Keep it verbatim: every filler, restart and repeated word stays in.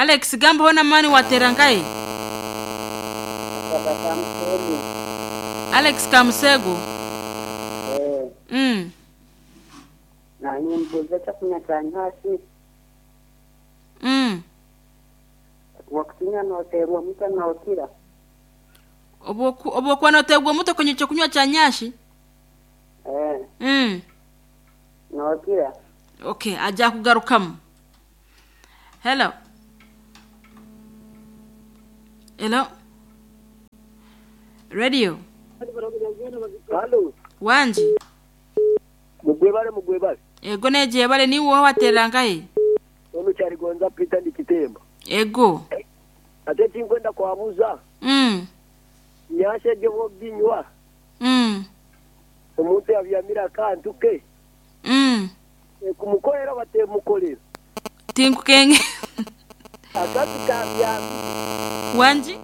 Alex, gambaho n'amaani, wateera nkahe? Akaba Kamusego. Alex Kamusego. Eh, mm. Nanye mbuuza ekyokunywa kya nyashi. Mm. Wakukinywa nooteerwa omutwe nookira. Obwoku- obwokuba noteegwa omutwe kunywa ekyokunywa kya nyashi. Eh, mm. nookira. Okay, ajja kugarukamu. Hello, hello, radio. Halo, Wangi. mugwebale, mugwebale. Ego, negyebale. Niwe wateera nkahe? Ono kyaligonza Peter ndi Kitemba. Ego. Ate tinkwenda kwabuza. mm. Nyasha egyo bwoginywa Mm. omuntu yabyamira akantu ke Mm. kumukorera batemukorera. Tinkukenge. Akantu kabyami. Wangi.